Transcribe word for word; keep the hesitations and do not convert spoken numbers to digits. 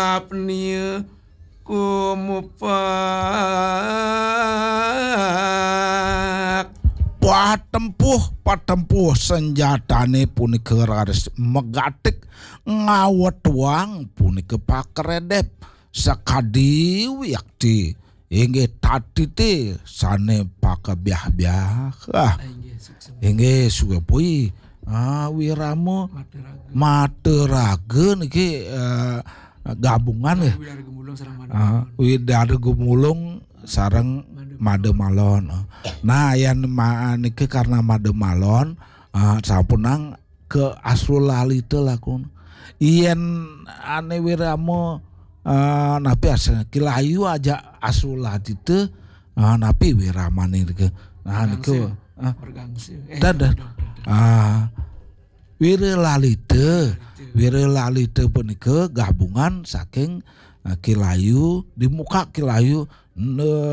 Apnia kumupak. Patempuh, patempuh senjatane punika raris megatik ngawetuang punika pakeredep sakadi wiakti. Inggih tatite sane pakebiah-biah. Ah, inggih, suksma. Inggih, suwe pui. Ah, wirama mata raga. Mata raga niki, eh, gabungan nggih. Widara Gumulung sareng Mada Malon. Ah, Widara Gumulung sareng Mada Malon. Nah, yen ma-, niki karena Mada Malon, ah, sampunang ke Asrulalita lakun. Yen ane wirama, eh, napi asal Kilayu aja Asrulalita, eh, napi wiramane niki. Nah, nika, ah. Dadah. Ah, Wiralalita. Wiralalita punika gabungan saking, eh, Kilayu, di muka Kilayu, ne-,